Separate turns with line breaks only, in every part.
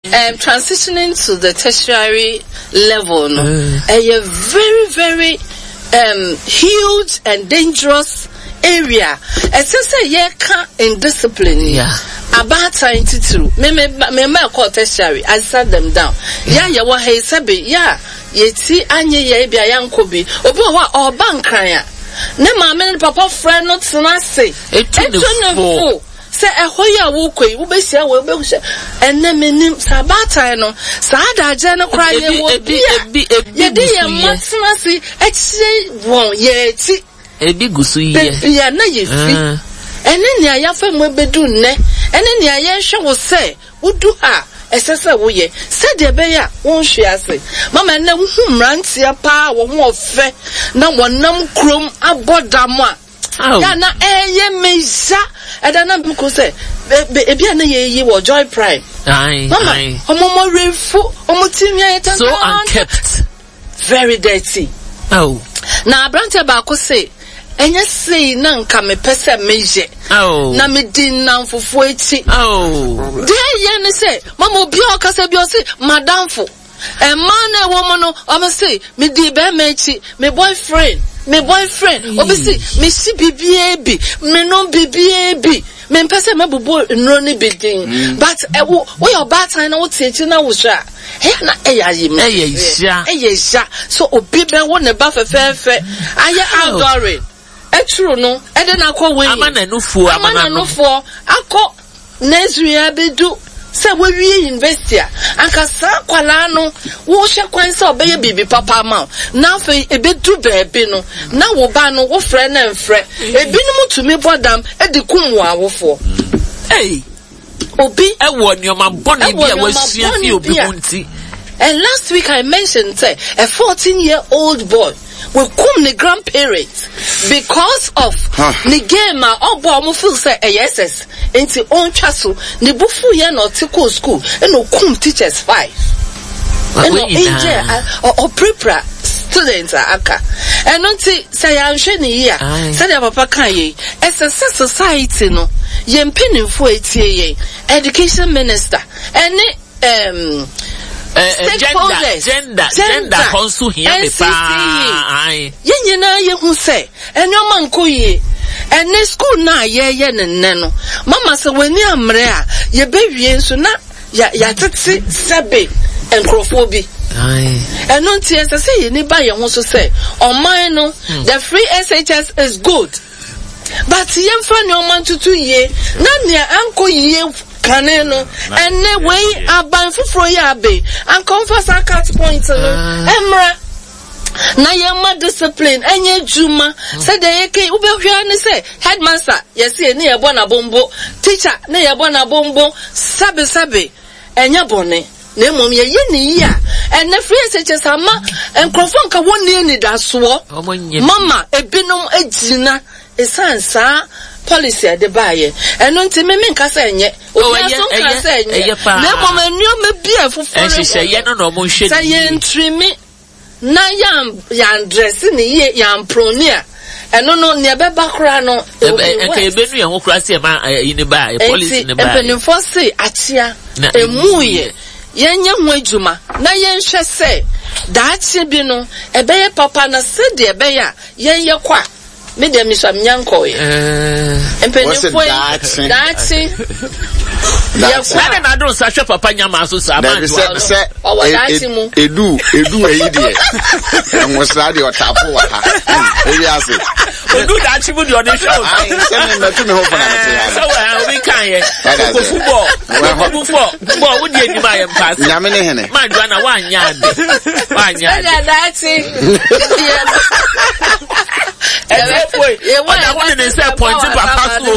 Um, transitioning to the tertiary level no, ɛyɛ very very um, huge and dangerous area. Ɛsɛ sɛ yɛka indiscipline yi.
Yeah.
Abaatan titiriw. Me me me mma ɛkɔɔ tertiary, I sat them down. Yɛ a yɛwɔ ha yi sɛbe yɛ a yɛti anyɛ yɛ ebi a yɛankɔ bi. Obi wɔ hɔ a ɔreba nkran a, ne maame ne ne papa frɛ no tena ase.
Etu ne fo.
Sɛ ɛhɔ yi a worekɔ yi, wobɛhyia wei, wobɛhyia. Ɛnnɛ mennim, sɛ abaatan no, saa adagyeɛ no koraa yɛwɔ bi a yɛde yɛn mma tena ase kyerɛ wɔn yɛn akyi.
Ebi gu so yɛ.
Baabi a na yɛfiri, ɛne nea yɛafa mu abɛdu nnɛ, ɛne nea yɛrehwɛ wo sɛ wodu ha a ɛsɛ sɛ woyɛ, sɛdeɛ ɛbɛyɛ a wonhwe ase. Mama ɛnnɛ wohu mmeranteɛ paa a wɔn ho ɔfɛ na wɔnam kurom abɔ dam a, Da na ɛyɛ me ya. Ɛda na meko sɛ ebi a na yɛyi wɔ Joy Prime. Mama, ɔmo mo werefo, ɔmo ti nwi ayɛ tantan.
So unkept.
Very dirty.
Oh.
Na aberanteɛ baako se, ɛnyɛ sei na nka mepɛ sɛ meyɛ.
Oh.
Na medi nnamfofoɔ akyi.
Oh.
Deɛ ɛyɛ ne sɛ, mama obi a ɔkasa bi ɔse, madamfo. Mmaa no a ɛwɔ mu no, wɔn se, medii bɛrima akyi, me boyfriend, me boyfriend. Obi se, mehye biribiara bi, menom biribiara bi. Mempɛ sɛ mɛbobɔ nnuro no bi din. Mm. But ɛwo, woyɛ ɔbaatan na wote akyi na wohwɛ a, ɛyɛ na ɛyɛ ayem.
Ɛyɛ ya.
Ɛyɛ ya. So obi bɛwo ne ba fɛfɛɛfɛ, ayɛ outdooring. Aturu no de no akɔ weighing.
Ama n'anufoɔ
ama n'anofoɔ akɔ nursery abɛdu sɛ wawie university a, anka saa akwadaa no wohwɛ kwan sɛ ɔbɛyɛ biribi papa ama wo. Na afei ɛbɛdu baabi no, na wo ba no wofrɛ no mfrɛ. Ebinom tumi bɔ dam de kum wɔn awofoɔ.
Hey.
Obi
ɛwɔ nneɛma bɔne bi a wasua fi obi ho nti.
And last week I mentioned sɛ a 14 year old boy wakum ne grandparents because of ne game a ɔbɔ a wɔn feel sɛ ɛyɛ SS nti ɔntwa so. Ne bo fu yɛ na ɔte kɔɔ school ɛna okum teachers five. Ɛna ɔinjure ɔpirapira students a aka. Ɛno nti sɛ yɛanhwɛ ne yie a sɛdeɛ papa kaa yei ɛsɛ sɛ society no yɛn mpanimfoɔ a ɛtie yɛn education minister ɛne um, stakeholders
gender gender hɔ nso hia me paa
yɛn nyinaa yɛhu sɛ nneɛma nkɔ yie ɛne school no a yɛyɛ ne nnɛ no mama sɛ w'ani ammere a yɛbɛwie nso na yɛatete sɛbe nkurɔfoɔ bi ɛno nti ɛsɛ sɛ yɛni ba yɛn ho so sɛ ɔman no hmm. the free shs is good but yɛmfa nneɛma ntutu yie na nea ankɔ yie kane no ɛnɛ wei aban foforɔ yi abe anka ɔmfa saa cut point no ɛmmra na yɛma discipline ɛnyɛ adwuma sɛdeɛ yɛkɛ wobɛhwɛ ara ne sɛ headmaster yɛse ne yɛbɔ n'abombo teacher ne yɛbɔ n'abombo sɛbesɛbe ɛnyɛ bɔne na mmom yɛyɛ ne yie a ɛnɛ free SHS ama nkurɔfoɔ nka wɔnni anidasoɔ mama ebinom agyina ɛsiane saa policy a ɛde baayɛ ɛno nti me menka sɛ ɛnyɛ obiara nso nka sɛ ɛnyɛ na mmom nneɛma bi a ɛfoforo sɛ yɛntirimi na yɛan yɛandrɛse ne yie yɛamproni a ɛno no nea ɛbɛba koraa no it will be
nka
worse.
yɛbɛnu yɛn ho koraa sɛ ɛma ɛyi ne baa policy
Enti
ne baa
mpanimfoɔ se akyea
Na
emu
emu
yɛ yɛnyɛ ho adwuma na yɛnhwɛ sɛ daakye bi no ɛbɛyɛ papa na sɛdeɛ ɛbɛyɛ a yɛn yɛkɔ a Me deɛ mesua menya nkɔɔeɛ. Mpanimfoɔ yi daakye yɛkɔ
a. Ɛna n'ado nsa hwɛ papa nyama so saa maa
sɛ sɛ
ɔwɔ daakye mu.
Edu edu eyi deɛ nwosra deɛ ɔtaafo wɔ ha ewi ase.
Odu daakye mu deɛ ɔde hwɛ o.
Ayi sɛ mi mɛtu mi ho fana mi ti ha.
Sɛ wɔ ha obi kan yɛ kokofu bɔ kokofu bɔ bɔ wo di anim ayɛ mpaase.
Nyame ne hene.
Maa Joanna wanyɛ ade wanyɛ ade.
Sɛdeɛ daakye yɛ.
Ɛtiɛfoɔ yi, ɔda ho de ne nsa pɔnte papa so.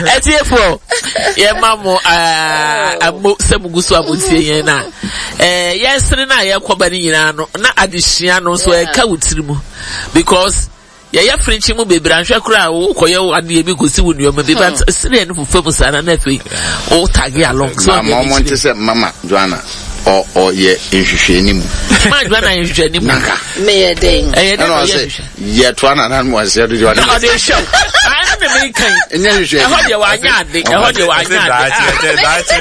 Ɛtiɛfoɔ, yɛma mo amo sɛ mo gu so a mo tie yɛn na yɛsere no a yɛkɔba no nyinaa no na adesua no nso ɛka wo tiri mu because yɛyɛ frenkye mu bebree anhwɛ koraa wokɔyɛ wo adeɛ bi kɔsi wo nneɛma bi but sereɛ no fufa mu saa na na afei wo tag along so
ma ɔmo nte sɛ mama Joanna ɔ ɔyɛ nhwehwɛni mu
mama Joanna yɛ nhwehwɛni mu
nanka
meyɛ dɛn
ɛyɛ dɛn
ɛna
ɔyɛ
ɔsɛ
nhwehwɛ
yɛtoa nana no ɔsɛ de ɔde
ɔde hwɛ wo ɛna na meka yi
ɛnyɛ nhwehwɛni
ɛhɔ deɛ wanyɛ ade ɛhɔ deɛ wanyɛ ade
daakye daakye no.